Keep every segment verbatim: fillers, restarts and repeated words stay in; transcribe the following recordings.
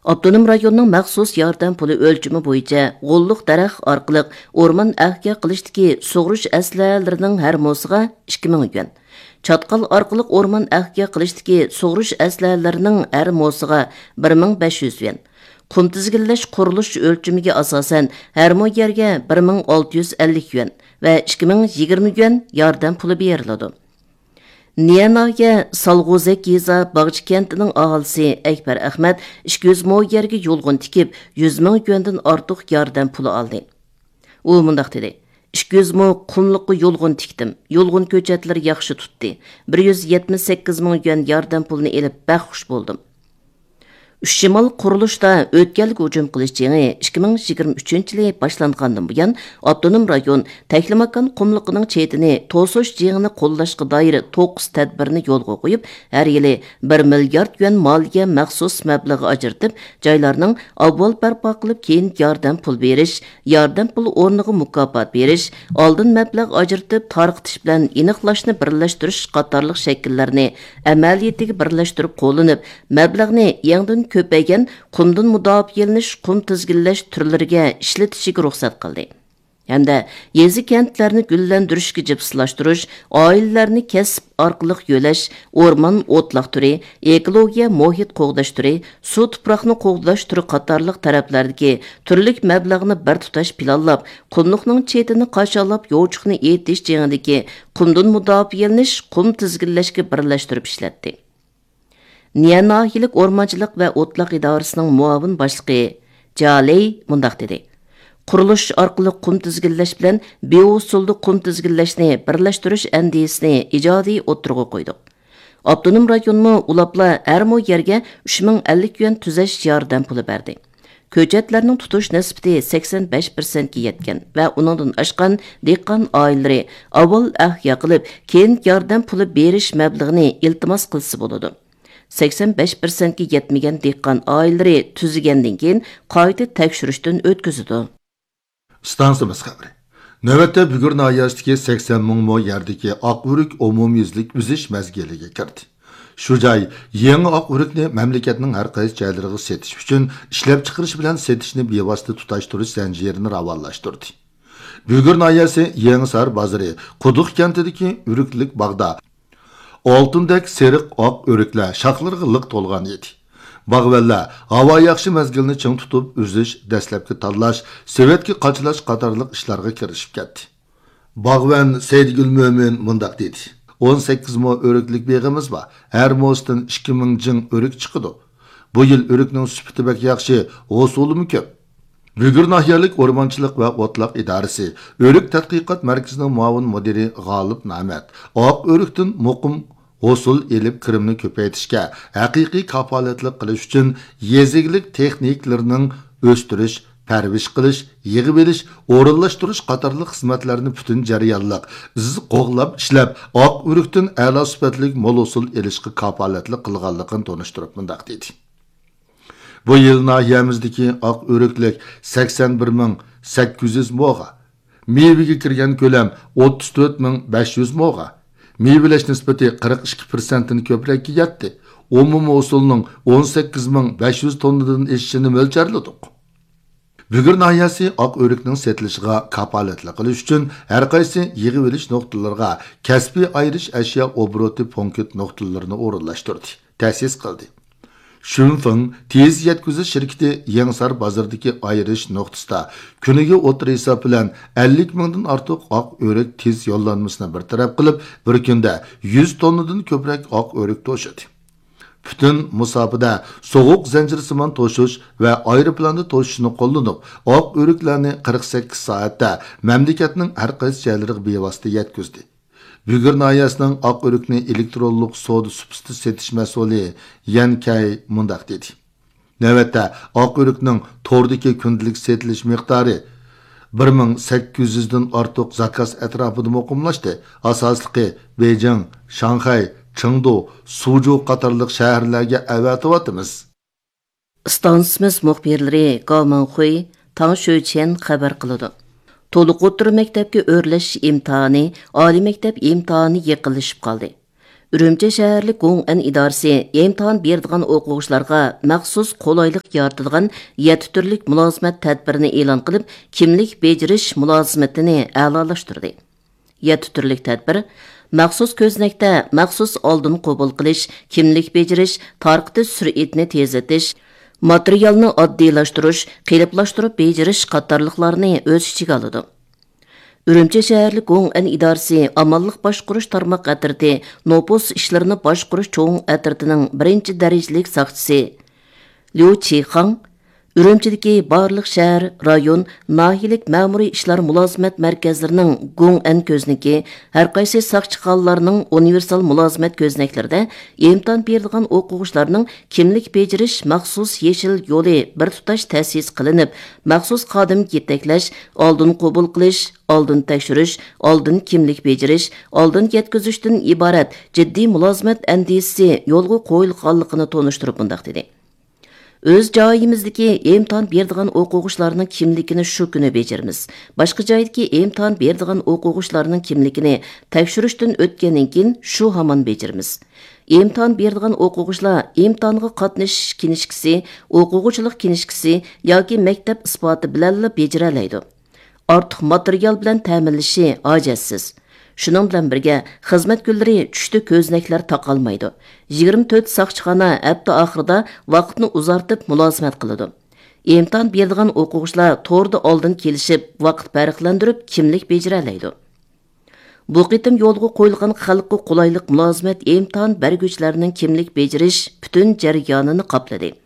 ئاپتونوم رايوننىڭ مەخسۇس ياردەم پۇلى ئۆلچىمى بويىچە غوللۇق دەرەخ ئارقىلىق ئورمان ئەھيا قىلىشتىكى سۇغۇرۇش ئەسلىھەلىرىنىڭ ھەر موسىغا ئىككى مىڭ يۈەن، چاتقال ئارقىلىق ئورمان ئەھيا قىلىشتىكى سۇغۇرۇش ئەسلىھەلىرىنىڭ ھەر موسىغا بىر مىڭ بەش يۈز يۈەن، قۇم تىزگىنلەش قۇرۇلۇش ئۆلچىمىگە ئاساسەن ھەر مو يەرگە بىر مىڭ ئالتە يۈز ئەللىك يۈەن ۋە ئىككى مىڭ يىگىرمە يۈەن ياردەم پۇلى بېرىلىدۇ. نىيە ناھىيە سالغۇزەك يېزا باغچە كەنتىنىڭ ئاھالىسى ئەكبەر ئەخمەت ئىككى يۈز مو يەرگە يولغۇن تىكىپ، يۈز مىڭ يۈەندىن ئارتۇق ياردەم پۇلى ئالدى. ئۇ مۇنداق دېدى: «ئىككى يۈز مو قۇملۇققا يولغۇن تىكتىم. يولغۇن كۆچەتلىرى ياخشى تۇتتى. بىر يۈز يەتمىش سەككىز مىڭ يۈەن ياردەم پۇلىنى ئېلىپ، بەك خۇش بولدۇم.» ئۈچ شىمال قۇرۇلۇشتا ئۆتكەلگە ھۇجۇم قىلىش جېڭى ئىككى مىڭ يىگىرمە ئۈچىنچى يىلى باشلانغاندىن بۇيان، ئاپتونوم رايون تەكلىماكان قۇملۇقىنىڭ چېتىنى توسۇش جېڭىنى قوللاشقا دائىر توققۇز تەدبىرنى يولغا قويۇپ، ھەر يىلى بىر مىليارد يۈەن مالىيە مەخسۇس مەبلىغى ئاجرىتىپ، جايلارنىڭ ئاۋۋال بەرپا قىلىپ، كېيىن ياردەم پۇل بېرىش، ياردەم پۇل ئورنىغا مۇكاپات بېرىش، ئالدىن مەبلەغ ئاجرىتىپ تارقىتىش بىلەن ئېنىقلاشنى بىرلەشتۈرۈش قاتارلىق شەكىللەرنى ئەمەلىيىتىگە بىرلەشتۈرۈپ قوللىنىپ، مەبلەغنى يېڭىدىن كۆپەيگەن قۇمدىن مۇداپىئەلىنىش، قۇم تىزگىنلەش تۈرلىرىگە ئىشلىتىشىگە رۇخسەت قىلدى ھەمدە يېزا، كەنتلەرنى گۈللەندۈرۈشكە جىپسىلاشتۇرۇش، ئائىلىلەرنى كەسىپ ئارقىلىق يۆلەش، ئورمان، ئوتلاق تۈرى، ئېكولوگىيە، مۇھىت قوغداش تۈرى، سۇ، تۇپراقنى قوغداش تۈرى قاتارلىق تەرەپلەردىكى تۈرلۈك مەبلەغنى بىر تۇتاش پىلانلاپ، قۇملۇقنىڭ چېتىنى قاچاللاپ، يوچۇقنى ئېتىش جېڭىدىكى قۇمدىن مۇداپىئەلىنىش، قۇم تىزگىنلەشكە بىرلەشتۈرۈپ ئىشلەتتى. نىيە ناھىيەلىك ئورمانچىلىق ۋە ئوتلاق ئىدارىسىنىڭ مۇئاۋىن باشلىقى جالېي مۇنداق دېدى: «قۇرۇلۇش ئارقىلىق قۇم تىزگىنلەش بىلەن بىئۇسۇلدا قۇم تىزگىنلەشنى بىرلەشتۈرۈش ئەندىزىسىنى ئىجادىي ئوتتۇرىغا قويدۇق. ئاپتونوم رايونمۇ ئۇلاپلا ھەر مو يەرگە ئۈچ مىڭ ئەللىك يۈەن تۈزەش ياردەم پۇلى بەردى. كۆچەتلەرنىڭ تۇتۇش نىسبىتى سەكسەن بەش پىرسەنتكە يەتكەن ۋە ئۇنىڭدىن ئاشقان دېھقان ئائىلىلىرى ئاۋۋال ئەھيا قىلىپ، كېيىن ياردەم پۇلى بېرىش مەبلىغىنى ئىلتىماس قىلسا بولىدۇ. سەكسەن بەش پىرسەنتكە يەتمىگەن دېھقان ئائىلىلىرى تۈزىگەندىن كېيىن قايتا تەكشۈرۈشتىن ئۆتكۈزىدۇ.» ئىستانسىمىز خەۋىرى. نۆۋەتتە بۈگۈر ناھىيەسىدىكى سەكسەن مىڭ مو يەردىكى ئاق ئۆرۈك ئومۇميۈزلۈك ئۈزۈش مەزگىلىگە كىردى. شۇ جاي يېڭى ئاق ئۆرۈكنى مەملىكەتنىڭ ھەر قايسى جايلىرىغا سېتىش ئۈچۈن ئىشلەپچىقىرىش بىلەن سېتىشنى بىۋاسىتە تۇتاشتۇرۇش زەنجىرىنى راۋانلاشتۇردى. بۈگۈر ناھىيەسى يېڭىسار بازىرى قۇدۇق كەنتىدىكى ئۆرۈكلۈك باغدا ئالتۇندەك سېرىق ئاق ئۆرۈكلەر شاخلىرىغا لىق تولغان ئىدى. باغۋەنلەر ھاۋا ياخشى مەزگىلنى چىڭ تۇتۇپ، ئۈزۈش، دەسلەپكى تاللاش، سېۋەتكە قاچىلاش قاتارلىق ئىشلارغا كىرىشىپ كەتتى. باغۋەن سەيدىگۈل مۆمىن مۇنداق دېدى: «ئون سەككىز مو ئۆرۈكلۈك بېغىمىز بار. ھەر موسىدىن ئىككى مىڭ جىڭ ئۆرۈك چىقىدۇ. بۇ يىل ئۆرۈكنىڭ سۈپىتى بەك ياخشى، ھوسۇلىمۇ كۆپ.» بۈگۈر ناھىيەلىك ئورمانچىلىق ۋە ئوتلاق ئىدارىسى ئۆرۈك تەتقىقات مەركىزىنىڭ مۇئاۋىن مۇدىرى غالىپ نامەت ئاق ئۆرۈكتىن مۇقىم ھوسۇل ئېلىپ، كىرىمنى كۆپەيتىشكە ھەقىقىي كاپالەتلىك قىلىش ئۈچۈن يېزا ئىگىلىك تېخنىكىلىرىنىڭ ئۆستۈرۈش، پەرۋىش قىلىش، يىغىۋېلىش، ئورۇنلاشتۇرۇش قاتارلىق خىزمەتلەرنى پۈتۈن جەريانلىق، ئىززىق قوغلاپ ئىشلەپ، ئاق ئۆرۈكتىن ئەلا سۈپەتلىك مول ھوسۇل ئېلىشقا كاپالەتلىك قىلغانلىقىنى تونۇشتۇرۇپ مۇنداق دېدى: «بۇ يىل ناھىيەمىزدىكى ئاق ئۆرۈكلۈك سەكسەن بىر مىڭ سەككىز يۈز موغا، مېۋىگە كىرگەن كۆلەم ئوتتۇز تۆت مىڭ بەش يۈز موغا، مېۋىلەش نىسبىتى قىرىق ئىككى پىرسەنتتىن كۆپرەككە يەتتى. ئومۇمىي ھوسۇلنىڭ ئون سەككىز مىڭ بەش يۈز توننىدىن ئېشىشىنى مۆلچەرلىدۇق.» بۈگۈر ناھىيەسى ئاق ئۆرۈكنىڭ سېتىلىشىغا كاپالەتلىك قىلىش ئۈچۈن ھەر قايسى يىغىۋېلىش نۇقتىلىرىغا كەسپىي ئايرىش ئەشيا ئوبوروتى پونكىت نۇقتىلىرىنى ئورۇنلاشتۇردى، تەسىس قىلدى. شۈنفېڭ تېز يەتكۈزۈش شىركىتى يېڭىسار بازىرىدىكى ئايرىش نۇقتىسىدا كۈنىگە ئوتتۇرا ھېساب بىلەن ئەللىك مىڭدىن ئارتۇق ئاق ئۆرۈك تېز يوللانمىسىنى بىر تەرەپ قىلىپ، بىر كۈندە يۈز توننىدىن كۆپرەك ئاق ئۆرۈك توشۇدى. پۈتۈن مۇساپىدە سوغۇق زەنجىرسىمان توشۇش ۋە ئايروپىلاندا توشۇشنى قوللىنىپ، ئاق ئۆرۈكلەرنى قىرىق سەككىز سائەتتە مەملىكەتنىڭ ھەر قايسى جايلىرىغا بىۋاسىتە يەتكۈزدى. بۈگۈر ناھىيەسىنىڭ ئاق ئۆرۈكنى ئېلېكترونلۇق سودا سۇپىسىدا سېتىش مەسئۇلى يەن كەي مۇنداق دېدى: «نۆۋەتتە ئاق ئۆرۈكنىڭ توردىكى كۈندىلىك سېتىلىش مىقدارى بىر مىڭ سەككىز يۈزدىن ئارتۇق زاكاز ئەتراپىدا مۇقىملاشتى. ئاساسلىقى بېيجىڭ، شاڭخەي، چېڭدۇ، سۇجۇ قاتارلىق شەھەرلەرگە ئەۋەتىۋاتىمىز.» ئىستانسىمىز مۇخبىرلىرى گاۋ مىڭخۇي، تاڭ شۆچيەن خەۋەر قىلىدۇ. تولۇق ئوتتۇرا مەكتەپكە ئۆرلەش ئىمتىھانى، ئالىي مەكتەپ ئىمتىھانى يېقىنلىشىپ قالدى. ئۈرۈمچى شەھەرلىك گوڭئەن ئىدارىسى ئىمتىھان بېرىدىغان ئوقۇغۇچىلارغا مەخسۇس قولايلىق يارىتىدىغان يەتتە تۈرلۈك مۇلازىمەت تەدبىرىنى ئېلان قىلىپ، كىملىك بېجىرىش مۇلازىمىتىنى ئەلالاشتۇردى. يەتتە تۈرلۈك تەدبىر مەخسۇس كۆزنەكتە مەخسۇس ئالدىن قوبۇل قىلىش، كىملىك بېجىرىش، تارقىتىش سۈرئىتىنى تېزلىتىش، ماتېرىيالنى ئاددىيلاشتۇرۇش، قېلىپلاشتۇرۇپ بېجىرىش قاتارلىقلارنى ئۆز ئىچىگە ئالىدۇ. ئۈرۈمچى شەھەرلىك گوڭئەن ئىدارىسى ئامانلىق باشقۇرۇش تارماق ئەترىتى نوپۇس ئىشلىرىنى باشقۇرۇش چوڭ ئەترىتىنىڭ بىرىنچى دەرىجىلىك ساقچىسى ليۇ چىخاڭ ئۈرۈمچىدىكى بارلىق شەھەر، رايون، ناھىيەلىك مەمۇرىي ئىشلار مۇلازىمەت مەركەزلىرىنىڭ گوڭئەن كۆزنىكى، ھەرقايسى ساقچىخانىلارنىڭ ئۇنىۋېرسال مۇلازىمەت كۆزنەكلىرىدە ئىمتىھان بېرىدىغان ئوقۇغۇچىلارنىڭ كىملىك بېجىرىش مەخسۇس يېشىل يولى بىر تۇتاش تەسىس قىلىنىپ، مەخسۇس خادىم يېتەكلەش، ئالدىن قوبۇل قىلىش، ئالدىن تەكشۈرۈش، ئالدىن كىملىك بېجىرىش، ئالدىن يەتكۈزۈشتىن ئىبارەت جىددىي مۇلازىمەت ئەندىزىسى يولغا قويۇلغانلىقىنى تونۇشتۇرۇپ مۇنداق دېدى: ئۆز جايىمىزدىكى ئىمتىھان بېرىدىغان ئوقۇغۇچىلارنىڭ كىملىكىنى شۇ كۈنى بېجىرىمىز. باشقا جايدىكى ئىمتىھان بېرىدىغان ئوقۇغۇچىلارنىڭ كىملىكىنى تەكشۈرۈشتىن ئۆتكەندىن كېيىن شۇ ھامان بېجىرىمىز. ئىمتىھان بېرىدىغان ئوقۇغۇچىلار ئىمتىھانغا قاتنىشىش كىنىشكىسى، ئوقۇغۇچىلىق كىنىشكىسى ياكى مەكتەپ ئىسپاتى بىلەنلا بېجىرەلەيدۇ. ئارتۇق ماتېرىيال بىلەن تەمىنلىشى ھاجەتسىز. شۇنىڭ بىلەن بىرگە، خىزمەت كۈنلىرى چۈشتە كۆزنەكلەر تاقالمايدۇ. يىگىرمە تۆت ساقچىخانا ھەپتە ئاخىرىدا ۋاقىتنى ئۇزارتىپ مۇلازىمەت قىلىدۇ. ئىمتىھان بېرىدىغان ئوقۇغۇچىلار توردا ئالدىن كېلىشىپ، ۋاقىت پەرقلەندۈرۈپ كىملىك بېجىرەلەيدۇ. بۇ قېتىم يولغا قويۇلغان خەلققە قولايلىق مۇلازىمەت ئىمتىھان بەرگۈچىلەرنىڭ كىملىك بېجىرىش پۈتۈن جەريانىنى قاپلىدى.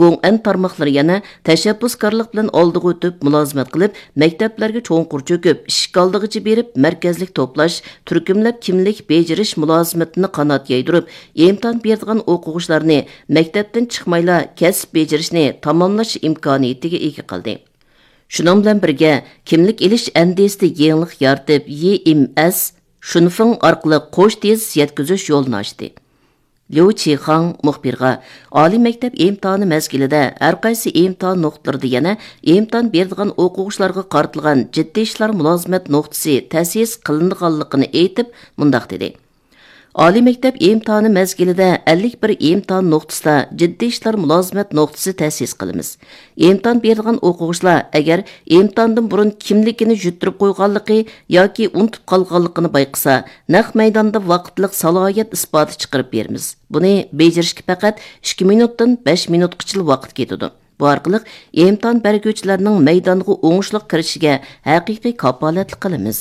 گوڭئەن تارماقلىرى يەنە تەشەببۇسكارلىق بىلەن ئالدىغا ئۆتۈپ مۇلازىمەت قىلىپ، مەكتەپلەرگە چوڭقۇر چۆكۈپ، ئىشىك ئالدىغىچە بېرىپ، مەركەزلىك توپلاش، تۈركۈملەپ كىملىك بېجىرىش مۇلازىمىتىنى قانات يايدۇرۇپ، ئىمتىھان بېرىدىغان ئوقۇغۇچىلارنى مەكتەپتىن چىقمايلا كەسىپ بېجىرىشنى تاماملاش ئىمكانىيىتىگە ئىگە قىلدى. شۇنىڭ بىلەن بىرگە، كىملىك ئېلىش ئەندىزىسىدە يېڭىلىق يارىتىپ، يېمئەس شۇنفېڭ ئارقىلىق قوش تېز يەتكۈزۈش يولىنى ئاچتى. ليۇ چىخاڭ مۇخبىرغا، ئالىي مەكتەپ ئىمتىھانى مەزگىلىدە ھەرقايسى ئىمتىھان نۇقتىلىرىدا يەنە ئىمتىھان بېرىدىغان ئوقۇغۇچىلارغا قارىتىلغان جىددىي ئىشلار مۇلازىمەت نۇقتىسى تەسىس قىلىنىدىغانلىقىنى ئېيتىپ، مۇنداق دېدى: ئالىي مەكتەپ ئىمتىھانى مەزگىلىدە ئەللىك بىر ئىمتىھان نۇقتىسىدا جىددىي ئىشلار مۇلازىمەت نۇقتىسى تەسىس قىلىمىز. ئىمتىھان بېرىدىغان ئوقۇغۇچىلار ئەگەر ئىمتىھاندىن بۇرۇن كىملىكىنى يۈتتۈرۈپ قويغانلىقى ياكى ئۇنتۇپ قالغانلىقىنى بايقىسا، نەق مەيداندا ۋاقىتلىق سالاھىيەت ئىسپاتى چىقىرىپ بېرىمىز. بۇنى بېجىرىشكە پەقەت ئىككى مىنۇتتىن بەش مىنۇتقىچىلا ۋاقىت كېتىدۇ. بۇ ئارقىلىق ئىمتىھان بەرگۈچىلەرنىڭ مەيدانغا ئوڭۇشلۇق كىرىشىگە ھەقىقىي كاپالەتلىك قىلىمىز.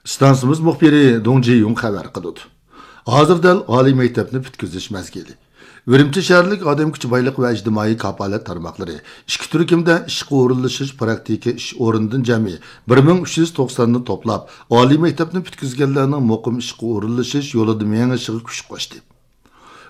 ئىستانسىمىز مۇخبىرى دۇڭ جىيۇڭ خەۋەر قىلىدۇ. ھازىر دەل ئالىي مەكتەپنى پۈتكۈزۈش مەزگىلى. ئۈرۈمچى شەھەرلىك ئادەم كۈچى بايلىقى ۋە ئىجتىمائىي كاپالەت تارماقلىرى ئىككى تۈركۈمدە ئىشقا ئورۇنلىشىش پراكتىكا ئىش ئورنىدىن جەمئىي بىر مىڭ ئۈچ يۈز توقساننى توپلاپ، ئالىي مەكتەپنى پۈتكۈزگەنلەرنىڭ مۇقىم ئىشقا ئورۇنلىشىش يولىدا مېڭىشىغا كۈچ قوشتى.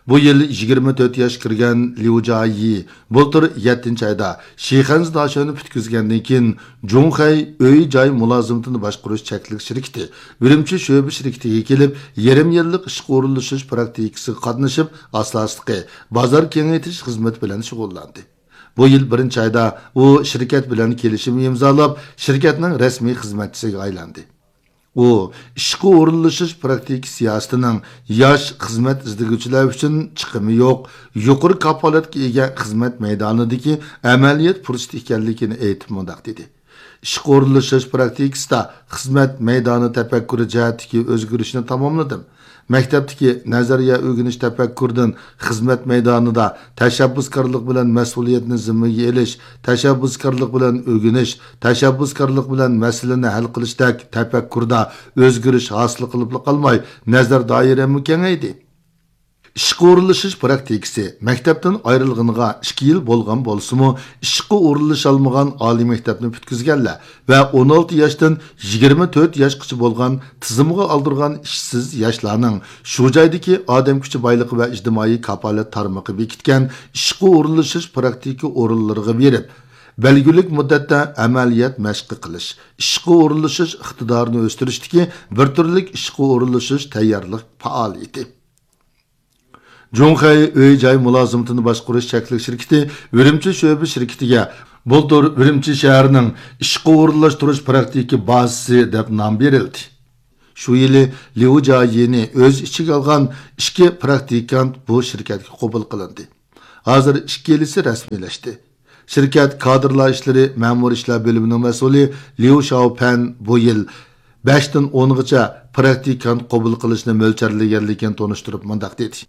بۇ يىل يىگىرمە تۆت ياش كىرگەن ليۇ جايى بۇلتۇر يەتتىنچى ئايدا شىخەنزى داشۆنى پۈتكۈزگەندىن كېيىن، جۇڭخەي ئۆي جاي مۇلازىمىتىنى باشقۇرۇش چەكلىك شىركىتى ئۈرۈمچى شۆبە شىركىتىگە كېلىپ، يېرىم يىللىق ئىشقا ئورۇنلىشىش پراكتىكىسىغا قاتنىشىپ، ئاساسلىقى بازار كېڭەيتىش خىزمىتى بىلەن شۇغۇللاندى. بۇ يىل بىرىنچى ئايدا ئۇ شىركەت بىلەن كېلىشىم ئىمزالاپ، شىركەتنىڭ رەسمىي خىزمەتچىسىگە ئايلاندى. ئۇ ئىشقا ئورۇنلىشىش پراكتىكا سىياسىتىنىڭ ياش خىزمەت ئىزدىگۈچىلەر ئۈچۈن چىقىمى يوق، يۇقىرى كاپالەتكە ئىگە خىزمەت مەيدانىدىكى ئەمەلىيەت پۇرسىتى ئىكەنلىكىنى ئېيتىپ مۇنداق دېدى: ئىشقا ئورۇنلىشىش پراكتىكىسىدا خىزمەت مەيدانى تەپەككۇرى جەھەتتىكى ئۆزگىرىشنى تاماملىدىم. مەكتەپتىكى نەزەرىيە ئۆگىنىش تەپەككۇرىدىن خىزمەت مەيدانىدا تەشەببۇسكارلىق بىلەن مەسئۇلىيەتنى زىممىگە ئېلىش، تەشەببۇسكارلىق بىلەن ئۆگىنىش، تەشەببۇسكارلىق بىلەن مەسىلىنى ھەل قىلىشتەك تەپەككۇردا ئۆزگىرىش ھاسىل قىلىپلا قالماي، نەزەر دائىرەممۇ كېڭەيدى. ئىشقا ئورۇنلىشىش پراكتىكىسى مەكتەپتىن ئايرىلغىنىغا ئىككى يىل بولغان بولسىمۇ، ئىشقا ئورۇنلىشالمىغان ئالىي مەكتەپنى پۈتكۈزگەنلەر ۋە ئون ئالتە ياشتىن يىگىرمە تۆت ياشقىچە بولغان تىزىمغا ئالدۇرغان ئىشسىز ياشلارنىڭ شۇ جايدىكى ئادەم كۈچى بايلىقى ۋە ئىجتىمائىي كاپالەت تارمىقى بېكىتكەن ئىشقا ئورۇنلىشىش پراكتىكا ئورۇنلىرىغا بېرىپ، بەلگىلىك مۇددەتتە ئەمەلىيەت مەشقى قىلىش، ئىشقا ئورۇنلىشىش ئىقتىدارىنى ئۆستۈرۈشتىكى بىر تۈرلۈك ئىشقا ئورۇنلىشىش تەييارلىق پائالىيىتى. جۇڭخەي ئۆي جاي مۇلازىمىتىنى باشقۇرۇش چەكلىك شىركىتى ئۈرۈمچى شۆبە شىركىتىگە بۇلتۇر ئۈرۈمچى شەھىرىنىڭ ئىشقا ئورۇنلاشتۇرۇش پراكتىكا بازىسى دەپ نام بېرىلدى. شۇ يىلى ليۇ جيايىنى ئۆز ئىچىگە ئالغان ئىككى پراكتىكانت بۇ شىركەتكە قوبۇل قىلىندى. ھازىر ئىككىلىسى رەسمىيلەشتى. شىركەت كادىرلار ئىشلىرى مەمۇرىي ئىشلار بۆلۈمىنىڭ مەسئۇلى ليۇ شاۋپەن بۇ يىل بەشتىن ئونغىچە پراكتىكانت قوبۇل قىلىشنى مۆلچەرلىگەنلىكىنى تونۇشتۇرۇپ مۇنداق دېدى: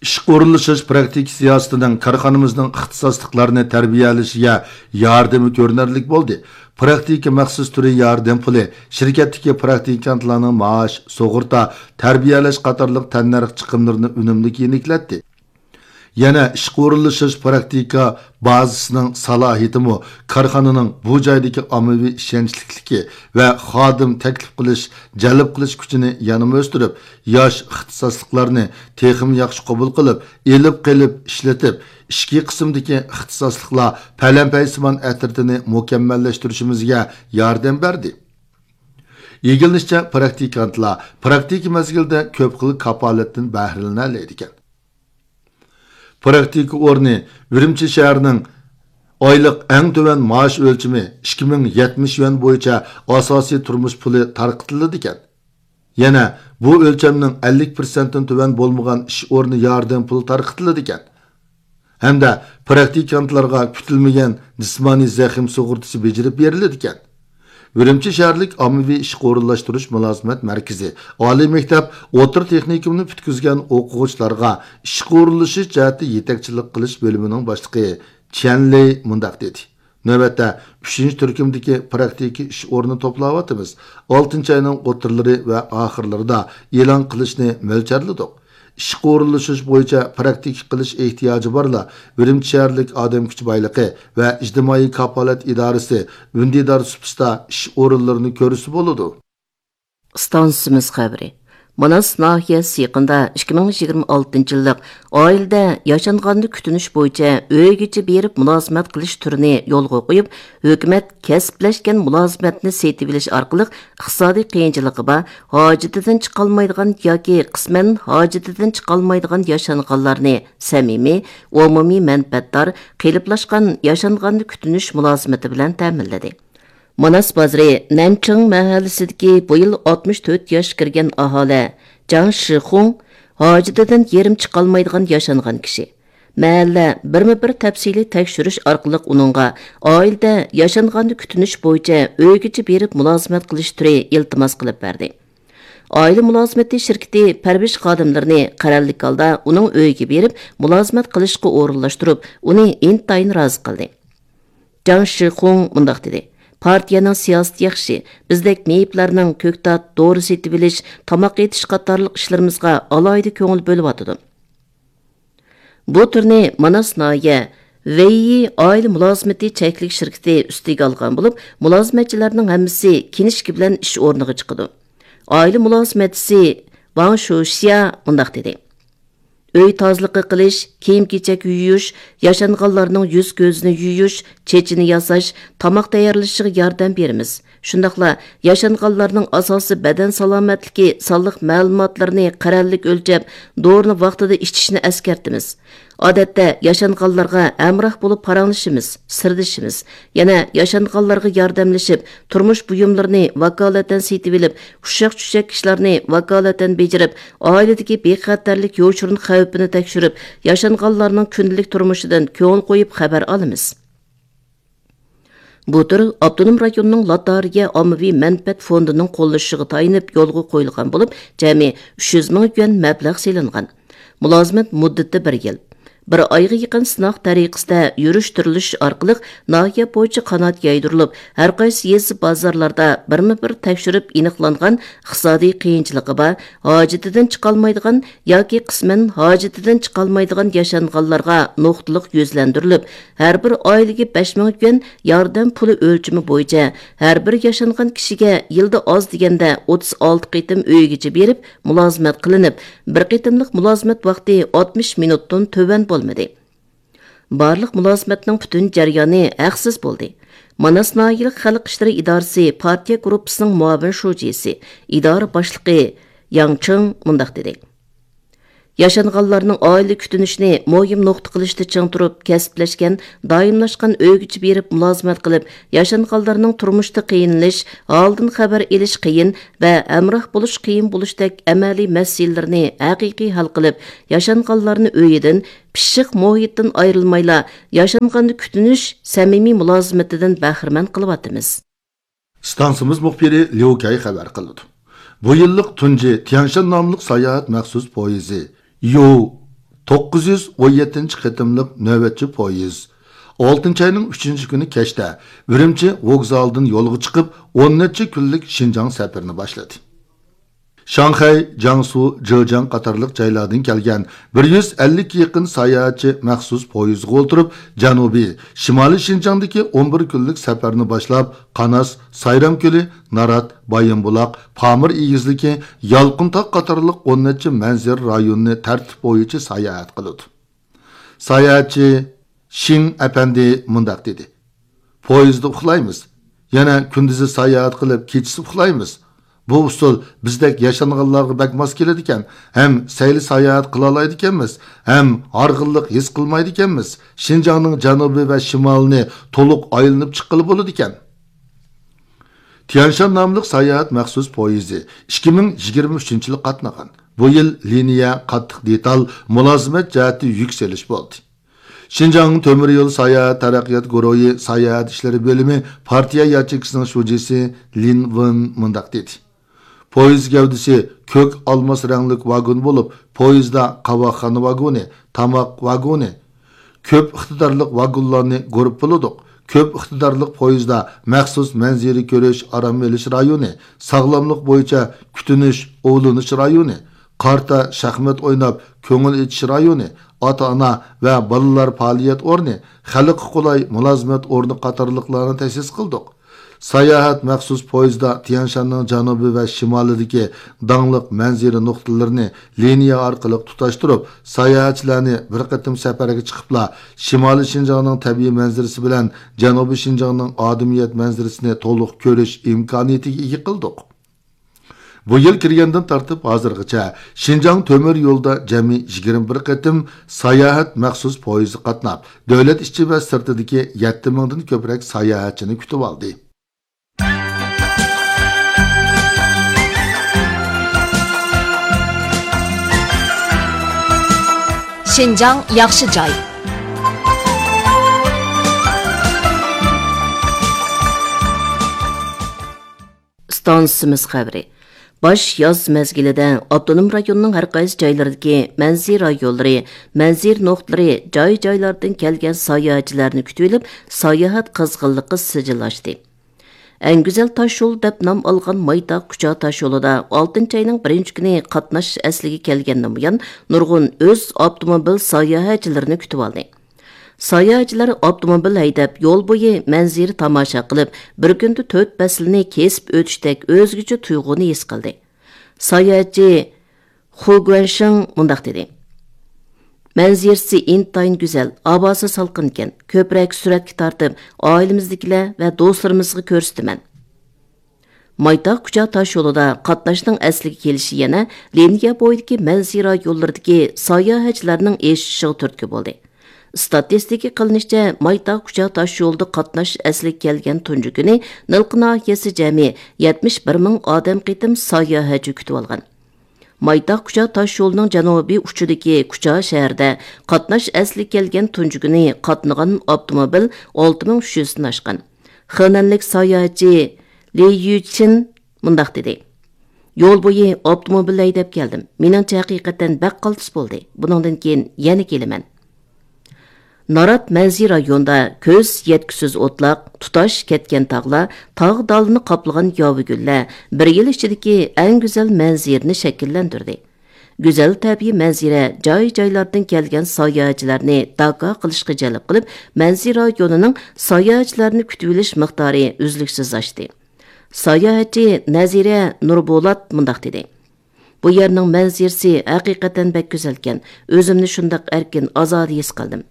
ئىشقا ئورۇنلىشىش پراكتىكا سىياسىتىنىڭ كارخانىمىزنىڭ ئىختىساسلىقلارنى تەربىيەلىشىگە ياردىمى كۆرۈنەرلىك بولدى. پراكتىكا مەخسۇس تۈرى ياردەم پۇلى شىركەتتىكى پراكتىكانتلارنىڭ مائاش، سۇغۇرتا، تەربىيەلەش قاتارلىق تەننەرخ چىقىملىرىنى ئۈنۈملۈك يېنىكلەتتى. يەنە ئىشقا ئورۇنلىشىش پراكتىكا بازىسىنىڭ سالاھىيىتىمۇ كارخانىنىڭ بۇ جايدىكى ئاممىۋى ئىشەنچلىكلىكى ۋە خادىم تەكلىپ قىلىش، جەلپ قىلىش كۈچىنى يەنىمۇ ئۆستۈرۈپ، ياش ئىختىساسلىقلارنى تېخىمۇ ياخشى قوبۇل قىلىپ، ئېلىپ قېلىپ ئىشلىتىپ، ئىچكى قىسىمدىكى ئىختىساسلىقلار پەلەمپەيسىمان ئەترىتىنى مۇكەممەللەشتۈرۈشىمىزگە ياردەم بەردى. ئىگىلىنىشىچە، پراكتىكانتلار پراكتىكا مەزگىلىدە كۆپ خىل كاپالەتتىن بەھرىلىنەلەيدىكەن. پراكتىكا ئورنى ئۈرۈمچى شەھىرىنىڭ ئايلىق ئەڭ تۆۋەن مائاش ئۆلچىمى ئىككى مىڭ يەتمىش يۈەن بويىچە ئاساسىي تۇرمۇش پۇلى تارقىتىلىدىكەن. يەنە بۇ ئۆلچەمنىڭ ئەللىك پىرسەنتتىن تۆۋەن بولمىغان ئىش ئورنى ياردەم پۇلى تارقىتىلىدىكەن. ھەمدە پراكتىكانتلارغا كۈتۈلمىگەن جىسمانىي زەخىم سۇغۇرتىسى بېجىرىپ بېرىلىدىكەن. ئۈرۈمچى شەھەرلىك ئاممىۋى ئىشقا ئورۇنلاشتۇرۇش مۇلازىمەت مەركىزى ئالىي مەكتەپ، ئوتتۇرا تېخنىكومنى پۈتكۈزگەن ئوقۇغۇچىلارغا ئىشقا ئورۇنلىشىش جەھەتتە يېتەكچىلىك قىلىش بۆلۈمىنىڭ باشلىقى چيەن لېي مۇنداق دېدى: نۆۋەتتە ئۈچىنچى تۈركۈمدىكى پراكتىكا ئىش ئورنىنى توپلاۋاتىمىز. ئالتىنچى ئاينىڭ ئوتتۇرىلىرى ۋە ئاخىرلىرىدا ئېلان قىلىشنى مۆلچەرلىدۇق. ئىشقا ئورۇنلىشىش بويىچە پراكتىكا قىلىش ئېھتىياجى بارلار ئۈرۈمچى شەھەرلىك ئادەم كۈچى بايلىقى ۋە ئىجتىمائىي كاپالەت ئىدارىسى ئۈندىدار سۇپىسىدا ئىش ئورۇنلىرىنى كۆرسە بولىدۇ. ئىستانسىمىز خەۋىرى. ماناس ناھىيەسى يېقىندا ئىككى مىڭ يىگىرمە ئالتىنچى يىللىق ئائىلىدە ياشانغاننى كۈتۈنۈش بويىچە ئۆيگىچە بېرىپ مۇلازىمەت قىلىش تۈرىنى يولغا قويۇپ، ھۆكۈمەت كەسىپلەشكەن مۇلازىمەتنى سېتىۋېلىش ئارقىلىق ئىقتىسادىي قىيىنچىلىقى بار، ھاجىتىدىن چىقالمايدىغان ياكى قىسمەن ھاجىتىدىن چىقالمايدىغان ياشانغانلارنى سەمىمىي، ئومۇمىي مەنپەئەتدار، قېلىپلاشقان ياشانغاننى كۈتۈنۈش مۇلازىمىتى بىلەن تەمىنلىدى. ماناس بازىرى نەنچىڭ مەھەللىسىدىكى بۇ يىل ئاتمىش تۆت ياشقا كىرگەن ئاھالە جاڭ شىخۇڭ ھاجىتىدىن يېرىم چىقالمايدىغان ياشانغان كىشى. مەھەللە بىرمۇ بىر تەپسىلىي تەكشۈرۈش ئارقىلىق ئۇنىڭغا ئائىلىدە ياشانغاننى كۈتۈنۈش بويىچە ئۆيگىچە بېرىپ مۇلازىمەت قىلىش تۈرى ئىلتىماس قىلىپ بەردى. ئائىلە مۇلازىمىتى شىركىتى پەرۋىش خادىملىرىنى قەرەللىك ھالدا ئۇنىڭ ئۆيىگە بېرىپ مۇلازىمەت قىلىشقا ئورۇنلاشتۇرۇپ، ئۇنى ئىنتايىن رازى قىلدى. جاڭ شىخۇڭ مۇنداق دېدى: پارتىيەنىڭ سىياسىتى ياخشى، بىزدەك مېيىپلەرنىڭ كۆكتات، دورا سېتىۋېلىش، تاماق ئېتىش قاتارلىق ئىشلىرىمىزغا ئالاھىدە كۆڭۈل بۆلۈۋاتىدۇ. بۇ تۈرنى ماناس ناھىيە ۋېييى ئائىلە مۇلازىمىتى چەكلىك شىركىتى ئۈستىگە ئالغان بولۇپ، مۇلازىمەتچىلەرنىڭ ھەممىسى كىنىشكا بىلەن ئىش ئورنىغا چىقىدۇ. ئائىلە مۇلازىمەتچىسى ۋاڭ شۇشيا مۇنداق دېدى: ئۆي تازىلىقى قىلىش، كىيىم-كېچەك يۇيۇش، ياشانغانلارنىڭ يۈز-كۆزىنى يۇيۇش، چېچىنى ياساش، تاماق تەييارلىشىغا ياردەم بېرىمىز. شۇنداقلا ياشانغانلارنىڭ ئاساسىي بەدەن سالامەتلىكى سانلىق مەلۇماتلىرىنى قەرەللىك ئۆلچەپ، دورىنى ۋاقتىدا ئىچىشىنى ئەسكەرتىمىز. ئادەتتە ياشانغانلارغا ھەمراھ بولۇپ پاراڭلىشىمىز، سىردىشىمىز. يەنە ياشانغانلارغا ياردەملىشىپ، تۇرمۇش بۇيۇملىرىنى ۋاكالىتەن سېتىۋېلىپ، ئۇششاق-چۈششەك ئىشلارنى ۋاكالىتەن بېجىرىپ، ئائىلىدىكى بىخەتەرلىك يوشۇرۇن خەۋپىنى تەكشۈرۈپ، ياشانغانلارنىڭ كۈندىلىك تۇرمۇشىدىن كۆڭۈل قويۇپ خەۋەر ئالىمىز. بۇ تۈر ئاپتونوم رايوننىڭ لاتارىيە ئاممىۋى مەنپەئەت فوندىنىڭ قوللىشىغا تايىنىپ يولغا قويۇلغان بولۇپ، جەمئىي ئۈچ يۈز مىڭ يۈەن مەبلەغ سېلىنغان. مۇلازىمەت مۇددىتى بىر يىل. بىر ئايغا يېقىن سىناق تەرىقىسىدە يۈرۈشتۈرۈلۈش ئارقىلىق ناھىيە بويىچە قانات يايدۇرۇلۇپ، ھەرقايسى يېزا، بازارلاردا بىرمۇ بىر تەكشۈرۈپ ئېنىقلانغان ئىقتىسادىي قىيىنچىلىقى بار، ھاجىتىدىن چىقالمايدىغان ياكى قىسمەن ھاجىتىدىن چىقالمايدىغان ياشانغانلارغا نۇقتىلىق يۈزلەندۈرۈلۈپ، ھەر بىر ئائىلىگە بەش مىڭ يۈەن ياردەم پۇلى ئۆلچىمى بويىچە ھەر بىر ياشانغان كىشىگە يىلدا ئاز دېگەندە ئوتتۇز ئالتە قېتىم ئۆيگىچە بېرىپ مۇلازىمەت قىلىنىپ، بىر قېتىملىق مۇلازىمەت ۋاقتى ئاتمىش مىنۇتتىن تۆۋەن بولمىدى. بارلىق مۇلازىمەتنىڭ پۈتۈن جەريانى ھەقسىز بولدى. ماناس ناھىيەلىك خەلق ئىشلىرى ئىدارىسى پارتىيە گۇرۇپپىسىنىڭ مۇئاۋىن شۇجىسى، ئىدارە باشلىقى ياڭ چىڭ مۇنداق دېدى: ياشانغانلارنىڭ ئائىلە كۈتۈنۈشىنى مۇھىم نۇقتا قىلىشتا چىڭ تۇرۇپ، كەسىپلەشكەن، دائىملاشقان ئۆيگىچە بېرىپ مۇلازىمەت قىلىپ، ياشانغانلارنىڭ تۇرمۇشتا قىينىلىش، ھالىدىن خەۋەر ئېلىش قىيىن ۋە ھەمراھ بولۇش قىيىن بولۇشتەك ئەمەلىي مەسىلىلىرىنى ھەقىقىي ھەل قىلىپ، ياشانغانلارنى ئۆيىدىن، پىششىق مۇھىتتىن ئايرىلمايلا، ياشانغاننى كۈتۈنۈش سەمىمىي مۇلازىمىتىدىن بەھرىمەن قىلىۋاتىمىز. ئىستانسىمىز مۇخبىرى ليۇ كەي خەۋەر قىلىدۇ. بۇ يىللىق تۇنجى تيەنشان ناملىق ساياھەت مەخسۇس پويىزى، يو توققۇز يۈز ئون يەتتىنچى قېتىملىق نۆۋەتچى پويىز، ئالتىنچى ئاينىڭ ئۈچىنچى كۈنى كەچتە ئۈرۈمچى ۋوگزالىدىن يولغا چىقىپ، ئون نەچچە كۈنلۈك شىنجاڭ سەپىرىنى باشلىدى. شاڭخەي، جياڭسۇ، جېجياڭ قاتارلىق جايلاردىن كەلگەن بىر يۈز ئەللىككە يېقىن ساياھەتچى مەخسۇس پويىزغا ئولتۇرۇپ، جەنۇبىي، شىمالىي شىنجاڭدىكى ئون بىر كۈنلۈك سەپەرنى باشلاپ، قاناس، سايرام كۆلى، نارات، بايىنبۇلاق، پامىر ئېگىزلىكى، يالقۇنتاغ قاتارلىق ئون نەچچە مەنزىرە رايونىنى تەرتىپ بويىچە ساياھەت قىلىدۇ. ساياھەتچى شىڭ ئەپەندى مۇنداق دېدى: پويىزدا ئۇخلايمىز، يەنە كۈندۈزى ساياھەت قىلىپ، كېچىسى ئۇخلايمىز. بۇ ئۇسۇل بىزدەك ياشانغانلارغا بەك ماس كېلىدىكەن، ھەم سەيلە ساياھەت قىلالايدىكەنمىز، ھەم ھارغىنلىق ھېس قىلمايدىكەنمىز. شىنجاڭنىڭ جەنۇبى ۋە شىمالىنى تولۇق ئايلىنىپ چىققىلى بولىدىكەن. تيەنشان ناملىق ساياھەت مەخسۇس پويىزى ئىككى مىڭ يىگىرمە ئۈچىنچى يىلى قاتنىغان. بۇ يىل لىنىيە قاتتىق دېتال، مۇلازىمەت جەھەتتە يۈك سېلىش بولدى. شىنجاڭ تۆمۈر يول ساياھەت تەرەققىيات گۇرۇھى ساياھەت ئىشلىرى بۆلۈمى پارتىيە ياچېيكىسىنىڭ شۇجىسى لىن ۋېن مۇنداق دېدى: پويىز گەۋدىسى كۆك ئالماس رەڭلىك ۋاگون بولۇپ، پويىزدا قاۋاقخانا ۋاگونى، تاماق ۋاگونى، كۆپ ئىقتىدارلىق ۋاگونلارنى گۇرۇپپىلىدۇق. كۆپ ئىقتىدارلىق پويىزدا مەخسۇس مەنزىرە كۆرۈش، ئارام ئېلىش رايونى، ساغلاملىق بويىچە كۈتۈنۈش، ئوۋلىنىش رايونى، قارتا، شاھمات ئويناپ، كۆڭۈل ئېچىش رايونى، ئاتا-ئانا ۋە بالىلار پائالىيەت ئورنى، خەلققە قولاي مۇلازىمەت ئورنى قاتارلىقلارنى تەسىس قىلدۇق. ساياھەت مەخسۇس پويىزدا تيەنشاننىڭ جەنۇبى ۋە شىمالىدىكى داڭلىق مەنزىرە نۇقتىلىرىنى لىنىيە ئارقىلىق تۇتاشتۇرۇپ، ساياھەتچىلەرنى بىر قېتىم سەپەرگە چىقىپلا، شىمالىي شىنجاڭنىڭ تەبىئىي مەنزىرىسى بىلەن جەنۇبىي شىنجاڭنىڭ ئادىمىيەت مەنزىرىسىنى تولۇق كۆرۈش ئىمكانىيىتىگە ئىگە قىلدۇق. بۇ يىل كىرگەندىن تارتىپ ھازىرغىچە شىنجاڭ تۆمۈر يولىدا جەمئىي يىگىرمە بىر قېتىم ساياھەت مەخسۇس پويىزى قاتناپ، دۆلەت ئىچى ۋە سىرتىدىكى يەتتە مىڭدىن كۆپرەك ساياھەتچىنى كۈتۈۋالدى. شىنجاڭ ياخشى جاي. ئىستانسىمىز خەۋىرى. باش ياز مەزگىلىدە ئاپتونوم رايوننىڭ ھەر قايسى جايلىرىدىكى مەنزىرە رايونلىرى، مەنزىرە نۇقتىلىرى جاي-جايلاردىن كەلگەن ساياھەتچىلەرنى كۈتۈۋېلىپ، ساياھەت قىزغىنلىقى سىجىللاشتى. ئەڭ گۈزەل تاشيول دەپ نام ئالغان مايتاغ كۇچا تاشيولىدا ئالتىنچى ئاينىڭ بىرىنچى كۈنى قاتناش ئەسلىگە كەلگەندىن بۇيان، نۇرغۇن ئۆز ئاپتوموبىل ساياھەتچىلىرىنى كۈتۈۋالدى. ساياھەتچىلەر ئاپتوموبىل ھەيدەپ، يول بويى مەنزىرە تاماشا قىلىپ، بىر كۈندە تۆت پەسىلنى كېسىپ ئۆتۈشتەك ئۆزگىچە تۇيغۇنى ھېس قىلدى. ساياھەتچى خۇ گۇەنشىڭ مۇنداق دېدى: مەنزىرىسى ئىنتايىن گۈزەل، ھاۋاسى سالقىنكەن، كۆپرەك سۈرەتكە تارتىپ، ئائىلىمىزدىكىلەر ۋە دوستلىرىمىزغا كۆرسىتىمەن. مايتاغ كۇچا تاشيولىدا قاتناشنىڭ ئەسلىگە كېلىشى يەنە لىنىيە بويىدىكى مەنزىرە يوللىرىدىكى ساياھەتچىلەرنىڭ ئېشىشىغا تۈرتكە بولدى. ئىستاتىستىكا قىلىنىشىچە، مايتاغ كۇچا تاشيولىدا قاتناش ئەسلىگە كەلگەن تۇنجى كۈنى نىلقا ناھىيەسى جەمئىي يەتمىش بىر مىڭ ئادەم قېتىم ساياھەتچى كۈتۈۋالغان. مايتاغ كۇچا تاشيولىنىڭ جەنۇبىي ئۇچىدىكى كۇچا شەھىرىدە قاتناش ئەسلىگە كەلگەن تۇنجى كۈنى قاتنىغان ئاپتوموبىل ئالتە مىڭ ئۈچ يۈزدىن ئاشقان. خېنەنلىك ساياھەتچى لى يۈچىن مۇنداق دېدى: يول بويى ئاپتوموبىل ھەيدەپ كەلدىم. مېنىڭچە، ھەقىقەتەن بەك قالتىس بولدى. بۇنىڭدىن كېيىن يەنە كېلىمەن. نارات مەنزىرە رايونىدا كۆز يەتكۈسىز ئوتلاق، تۇتاش كەتكەن تاغلار، تاغ دالىنى قاپلىغان ياۋا گۈللەر بىر يىل ئىچىدىكى ئەڭ گۈزەل مەنزىرىنى شەكىللەندۈردى. گۈزەل تەبىئىي مەنزىرە جاي-جايلاردىن كەلگەن ساياھەتچىلەرنى داكا قىلىشقا جەلپ قىلىپ، مەنزىرە رايونىنىڭ ساياھەتچىلەرنى كۈتۈۋېلىش مىقدارى ئۈزلۈكسىز ئاشتى. ساياھەتچى نەزىرە نۇربولات مۇنداق دېدى: بۇ يەرنىڭ مەنزىرىسى ھەقىقەتەن بەك گۈزەلكەن، ئۆزۈمنى شۇنداق ئەركىن، ئازادە ھېس قىلدىم.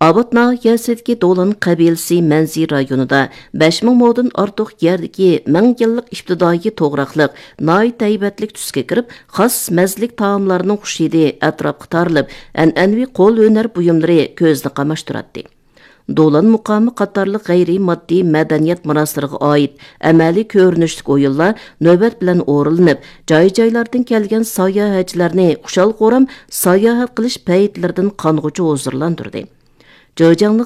ئاۋات ناھىيەسىدىكى دولان قەبىلىسى مەنزىرە رايونىدا بەش مىڭ مودىن ئارتۇق يەردىكى مىڭ يىللىق ئىپتىدائىي توغراقلىق ناھايىتى ھەيۋەتلىك تۈسكە كىرىپ، خاس مەززىلىك تائاملارنىڭ خۇش ھىدى ئەتراپقا تارىلىپ، ئەنئەنىۋى قول ھۈنەر بۇيۇملىرى كۆزنى قاماشتۇراتتى. دولان مۇقامى قاتارلىق غەيرىي ماددىي مەدەنىيەت مۇناسىرىغا ئائىت ئەمەلىي كۆرۈنۈشلۈك ئويۇنلار نۆۋەت بىلەن ئورۇنلىنىپ، جاي-جايلاردىن كەلگەن ساياھەتچىلەرنى خۇشال-خۇرام ساياھەت قىلىش پەيتلىرىدىن قانغۇچە ھۇزۇرلاندۇردى. جېجياڭلىق